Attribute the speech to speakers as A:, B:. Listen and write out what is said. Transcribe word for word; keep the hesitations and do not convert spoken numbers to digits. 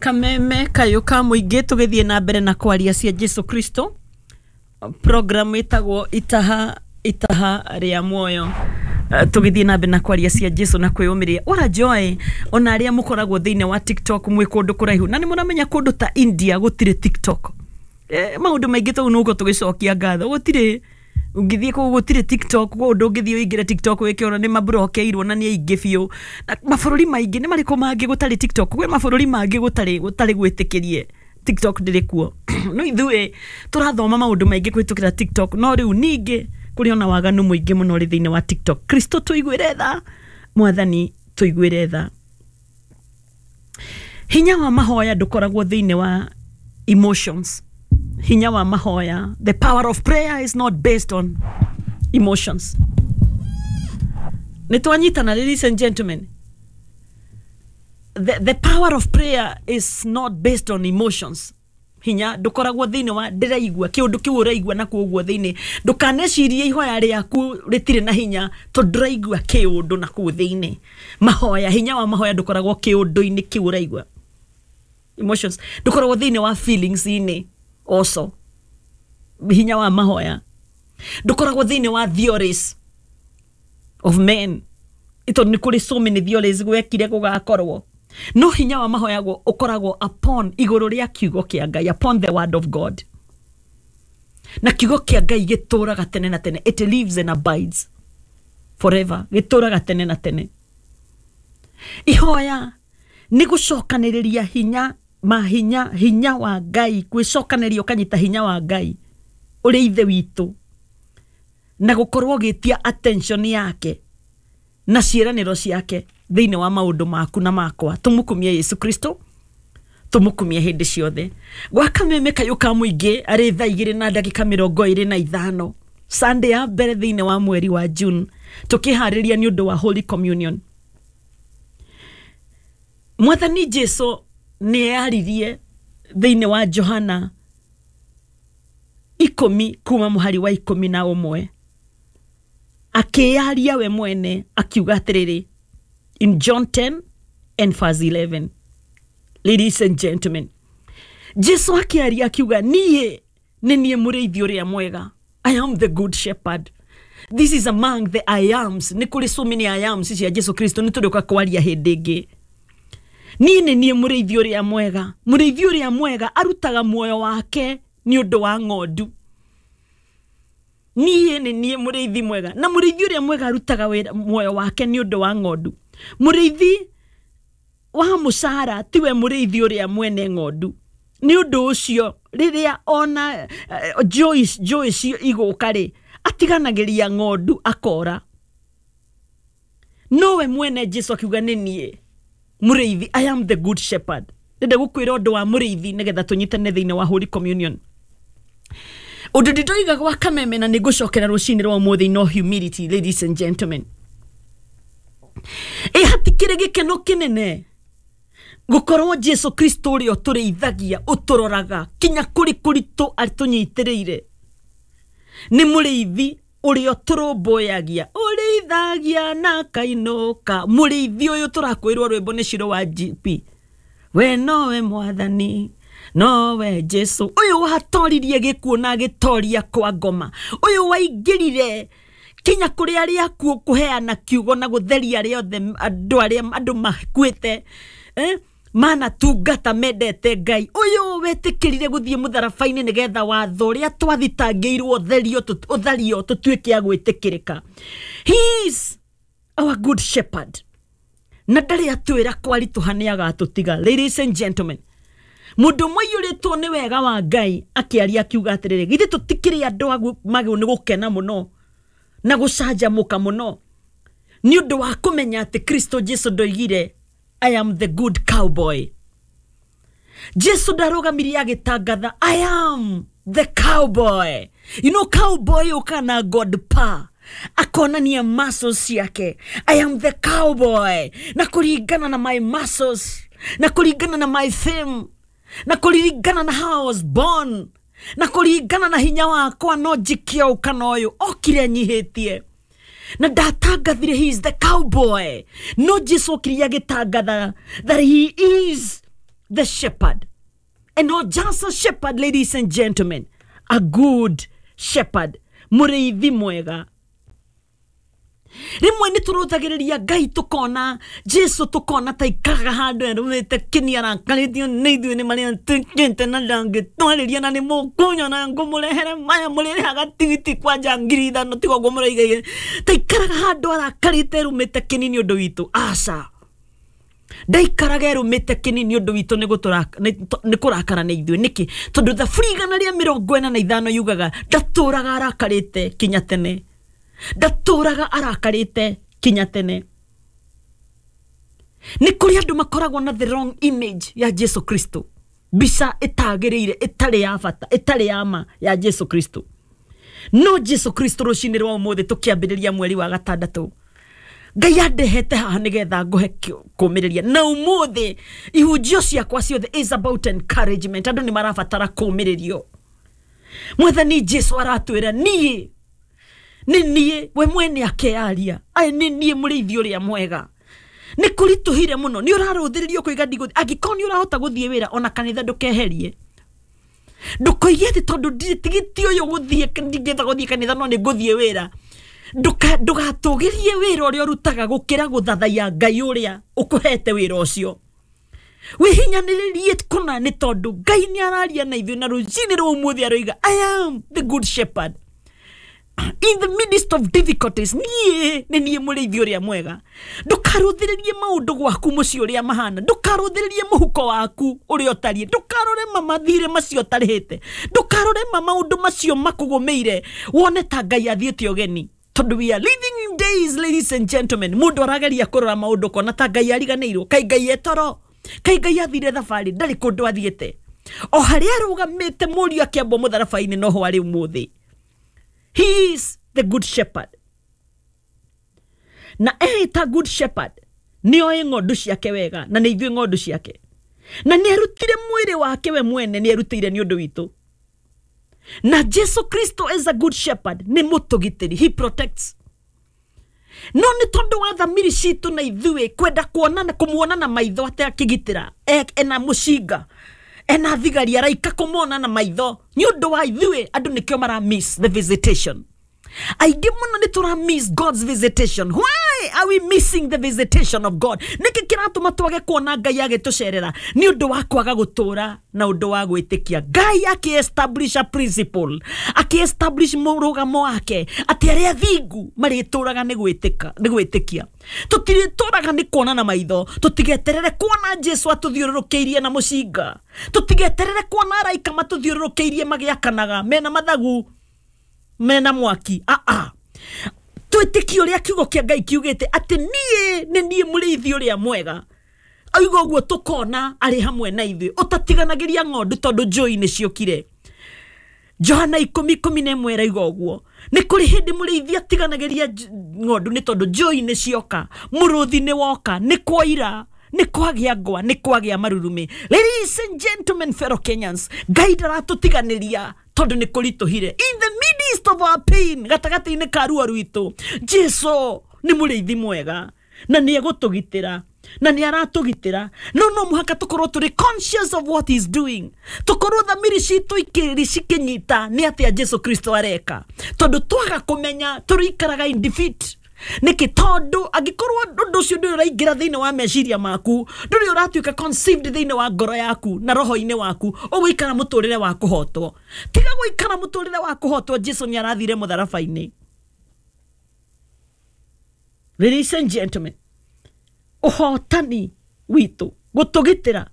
A: Kameme kayũ ka mũingĩ, tũgĩthiĩ na mbere na kwaria cia Jesu Kristo, program ĩtagwo itaha itaha rĩa muoyo. Eh, tũgĩthiĩ na mbere na kwaria cia Jesu na kwĩyũmĩrĩria. What a joy, ona arĩa mũkoragwo thĩinĩ wa TikTok mwĩ kũndũ kũraihu, na nĩ mũramenya kũndũ ta India gũtirĩ TikTok. eh, maũndũ maingĩ tau nũguo tũgĩcokia ngatho, gũtirĩ ũngĩthiĩ kũu, gũtirĩ TikTok kũu, ndũngĩthiĩ ũingĩre TikTok wĩke ũrĩa, nĩ maburokeirwo na nĩ aingĩ biũ. Na mabũrũri maingĩ nĩ marĩkũ mangĩ gũtarĩ TikTok? Gwĩ mabũrũri mangĩ gũtarĩ gũtarĩ gwĩtĩkĩrie, TikTok ndĩrĩ kuo, no ithuĩ tũrathoma maũndũ maingĩ kũhĩtũkĩra TikTok. No rĩu ningĩ kũrĩ ona waganu mũingĩ mũno ũrĩ thĩinĩ wa TikTok. Kristo tũiguĩre tha, Mwathani tũiguĩre tha. Hinya wa mahoya ndũkoragwo thĩinĩ wa emotions. Hinya wa mahoya, the power of prayer is not based on emotions. Nĩ twanyitana, ladies and gentlemen? the, the power of prayer is not based on emotions. Hinya ndũkoragwo thĩinĩ wa ndĩraigua kĩũndũ kĩu ũraigua na kũguo thĩinĩ. Ndũkanecirie ihoya rĩaku rĩtirĩ na hinya tondũ ndũraigua kĩũndũ na kũu thĩinĩ. Mahoya, hinya wa mahoya ndũkoragwo kĩũndũ-inĩ kĩu ũraigua, emotions, ndũkoragwo thĩinĩ wa feelings inĩ. Also, hinya wa mahoya ndũkoragwo thĩinĩ wa theories of men, tondũ nĩ kũrĩ so many theories gwekire gũgakorwo. No hinya wa mahoya guo ũkoragwo upon, igũrũ rĩa kiugo kĩa Ngai, upon the word of God. Na kiugo kĩa Ngai gĩtũraga tene na tene. It lives and abides forever. Gĩtũraga tene na tene. Ihoya nĩ gũcokanĩrĩria hinya mahinya, hinya wa Ngai, gwĩcokanĩria ũkanyita hinya wa Ngai ũrĩa Ithe witũ, na gũkorwo ũgĩtia attention yake na ciĩranĩro ciake thĩinĩ wa maũndũ maku na makwa. Tũmũkumie Yesu Kristo, tũmũkumie hĩndĩ ciothe. Gwa kameme kayũ ka mũingĩ, arĩ thaa igĩrĩ na ndagĩka mĩrongo ĩrĩ na ithano, Sunday ya mbere thĩinĩ wa mweri wa June, tũkĩharĩria nĩ ũndũ wa Holy Communion. Mwathani Jesu nĩ yaririe thĩinĩ wa Johana ikũmi kuma mũhari wa ikũmi na ũmwe, akĩyaria we mwene akiuga atĩrĩrĩ, in John ten and verse eleven, ladies and gentlemen, Jesu akĩaria akiuga, "Niĩ nĩ niĩ mũrĩithi ũrĩa mwega. I am the good shepherd." This is among the I ams. Nĩ kũrĩ so many I ams cia Jesu Kristo, nĩ tũrĩũka kwaria hĩndĩ ĩngĩ. Niĩ nĩ niĩ mũrĩithi ũrĩa mwega. Mũrĩithi ũrĩa mwega arutaga muoyo wake nĩ ũndũ wa ng'ondu. Niĩ nĩ niĩ mũrĩithi mwega, na mũrĩithi ũrĩa mwega arutaga wĩra muoyo wake nĩ ũndũ wa ng'ondu. Mũrĩithi wa mũcara tiwe mũrĩithi ũrĩa mwene ng'ondu. Nĩ ũndũ ũcio rĩrĩa ona uh, Joyce Joyce igũka rĩ, atiganagĩria ng'ondu akora. Nowe mwene Jesu akiuga, "Nĩ niĩ mũrĩithi. I am the good shepherd." Ndĩrenda gũkwĩra ũndũ wa mũrĩithi nĩgetha tũnyitane thĩinĩ wa Holy Communion. Ũndũ ndĩndoiga gwa kameme na nĩ ngũcokera rũcinĩ rwa ũmũthĩ, no humility, ladies and gentlemen. Ĩ hatikĩrĩ gĩkeno kĩnene gũkorwo Jesu Kristo ũrĩa ũtũrĩithagia, ũtũroraga kinya kũrĩ kũritũ, atũnyitĩrĩire, nĩ mũrĩithi ũrĩa ũtũrũmbũyagia, ũrĩithagia na kainũka. Mũrĩithi ũyũ tũrakwĩrwo rwĩmbo nĩ Ciro wa G P, we nowe Mwathani, nowe Jesu ũyũ watoririe gĩkuũ na agĩtoria kwa ngoma, ũyũ waingĩrire kinya kũrĩ arĩa akuũ kũheana kiugo na gũtheria arĩa othe, andũ arĩa andũ makuĩte, eh? Manatungata mendete Ngai, ũyũ wetĩkĩrire gũthiĩ mũtharaba-inĩ nĩgetha watho ũrĩa twathitangĩirwo ũtherio, ũthario, tũtuĩke a gwĩtĩkĩrĩka. He is our good shepherd, na ndarĩ atwĩra kwaritũha nĩ agatũtiga. Ladies and gentlemen, mũndũ ũmwe aiyũrĩtwo nĩ wega wa Ngai akĩaria akiuga atĩrĩrĩ, githĩ tũtikĩrĩ andũ magĩrĩirwo nĩ gũkena mũno na gũcanjamũka mũno nĩ ũndũ wa kũmenya atĩ Kristo Jesu ndoigire, "I am the good cowboy"? Jesu ndarũgamirie agĩtangatha, "I am the cowboy." You know, cowboy ũkaga na god pa akonania muscles ciake. "I am the cowboy, na kũringana na my muscles, na kũringana na my fame, na kũringana na how I was born, na kũringana na hinya wakwa, no njikie ũũ kana ũyũ." Okire nyihĩtie na ndatangathire he is the cowboy. No Jesu okire agĩtangatha that he is the shepherd, and not just a shepherd, ladies and gentlemen, a good shepherd, mũrĩithi mwega. Rĩmwe nĩ tũrũthagĩrĩria Ngai, tũkona Jesu, tũkona ta ikaraga handũ erũmĩte kĩni, arakarĩtio nĩ ithuĩ nĩ marĩa twĩkĩte, na ndangĩtwarĩria, na nĩ mũkũnyona ngũmũrehere maya mũrĩrĩhaga tigiti kwanja ngiri ithano, tiga ũguo mũraiga, ta ikaraga handũ arakarĩte erũmĩte kĩni nĩ ũndũ witũ. Aca, ndaikaraga erũmĩte kĩni nĩ ũndũ witũ, nĩ gũtũra- nĩ nĩ kũrakara nĩ ithuĩ. Nĩkĩ? Tondũ Thaburi igana rĩa mĩrongo ĩna na ithano yugaga ndatũraga arakarĩte kinya tene, ndatũraga arakarĩte kinya tene. Nĩ kũrĩ andũ makoragwo na the wrong image ya Jesu Kristo, mbica ĩtagĩrĩire, ĩtarĩ ya bata, ĩtarĩ ya ma ya Jesu Kristo. No Jesu Kristo, rũcinĩ rwa ũmũthĩ tũkĩambĩrĩria mweri wa gatandatũ, Ngai andehete haha nĩgetha ngũhe kĩ- kũũmĩrĩria. Na ũmũthĩ ihunjio ciakwa ciothe is about encouragement. Andũ nĩ marabatara kũũmĩrĩrio. Mwathani Jesu aratwĩra, niĩ nĩ niĩ, we mwene akearia aya, nĩ niĩ mũrĩithi ũrĩa mwega. Nĩ kũritũhire mũno, nĩ ũrarũthĩrĩrio kũiga ndigũthiĩ. Angĩkorwo nĩ ũrahota gũthiĩ wĩra ona kanitha, ndũkeherie, ndũkoige atĩ tondũ ndirĩ tigiti ũyũ gũthiĩ, ndingĩhota gũthiĩ kanitha, no nĩ ngũthiĩ wĩra. Ndũka- ndũgatũgĩrie wĩra ũrĩa ũrutaga gũkĩra gũthathaiya Ngai ũrĩa ũkũhete wĩra ũcio. Wĩhinyanĩrĩrie kũna, nĩ tondũ Ngai nĩ araria na ithuĩ, na rũcinĩ rwa ũmũthĩ aroiga, "I am the good shepherd." In the midst of difficulties, niĩ nĩ niĩ mũrĩithi ũrĩa mwega. Ndũkarũthĩrĩrie maũndũ gwaku mũciĩ ũrĩa mahana, ndũkarũthĩrĩrie mũhuko waku ũrĩa ũtariĩ, ndũkarore ma mathirĩ macio ũtarĩhĩte, ndũkarore ma maũndũ macio makũgũmĩire wone ta Ngai athiĩte ũgeni, tondũ we are living in days, ladies and gentlemen, mũndũ arageria kũrora maũndũ kona ta Ngai ariganĩirwo, kai Ngai etoro, kai Ngai athire thabarĩ. Ndarĩ kũndũ athiĩte, o harĩa arũgamĩte mũriũ akĩambwo mũtharaba-inĩ noho arĩ ũmũthĩ. He is the good shepherd, na eĩta good shepherd nĩ oĩ ng'ondu ciake wega, na nĩ ithuĩ ng'ondu ciake, na nĩ arutire mwĩrĩ wake we mwene, nĩ arutĩire nĩ ũndũ witũ. Na Jesu Kristo as a good shepherd nĩ mũtũgitĩri, he protects. No nĩ tondũ wa thamiri citũ na ithuĩ kwenda kuona kũmuona na maitho atĩ akĩgitĩra, e- ena mũcinga, ena thigari, araika, kũmona na maitho, nĩ ũndũ wa ithuĩ andũ nĩkĩo mara miss the visitation. Aingĩ mũno nĩ tũra miss God's visitation. Why are we missing the visitation of God? Nĩkĩ kĩratũma twage kuona Ngai agĩtũcerera? Nĩ ũndũ wa kwaga gũtũra na ũndũ wa gwĩtĩkia Ngai akĩ establish a principle, akĩ establish mũrũgamo wake atĩ arĩa thingu marĩtũraga nĩ gwĩtĩka, nĩ gwĩtĩkia. Tũtirĩtũraga nĩ kuona na maitho. Tũtigeterere kuona Jesu atũthiũrũrũkĩirie na mũcinga, tũtigeterere kuona araika matũthiũrũrũkĩirie magĩakanaga mena mathagu, mena mwaki. Aa, twĩtĩkie ũrĩa kiugo kĩa Ngai kiugĩte atĩ niĩ nĩ niĩ mũrĩithi ũrĩa mwega. Auga ũguo, tũkona arĩ hamwe na ithuĩ, ũtatiganagĩria ng'ondu tondũ njũi nĩ ciũkire. Johana ikũmi ikũmi na ĩmwe ĩraiga ũguo. Nĩ kũrĩ hĩndĩ mũrĩithi atiganagĩria nj- ng'ondu nĩ tondũ njũi nĩ cioka, mũrũthi nĩ woka, nĩ kwaira, nĩ kwagĩa ngwa, nĩ kwagĩa marurumĩ. Ladies and gentlemen, fellow Kenyans, Ngai ndaratũtiganĩria tondũ nĩ kũritũhire. In the midst of our pain, gatagatĩ-inĩ ka ruo rwitũ, Jesu nĩ mũrĩithi mwega na nĩ egũtũgitĩra, na nĩ aratũgitĩra. No no mũhaka tũkorwo tũrĩ conscious of what he is doing, tũkorwo thamiri citũ ikĩrĩ cikĩnyita nĩ atĩa Jesu Kristo areka, tondũ twaga kũmenya tũrĩikaraga in defeat. Nĩkĩ? Tondũ angĩkorwo ũndũ ũcio ndũrĩ ũraingĩra thĩinĩ wa meciria maku, ndũrĩ ũratuĩka conceived thĩinĩ wa ngoro yaku na roho-inĩ waku, ũgũikara mũtũrĩre wa kũhotwo. Tiga gũikara mũtũrĩre wa kũhotwo. Jesu nĩ arathire mũtharaba-inĩ. Ladies and gentlemen, ũhotani witũ gũtũgitĩra.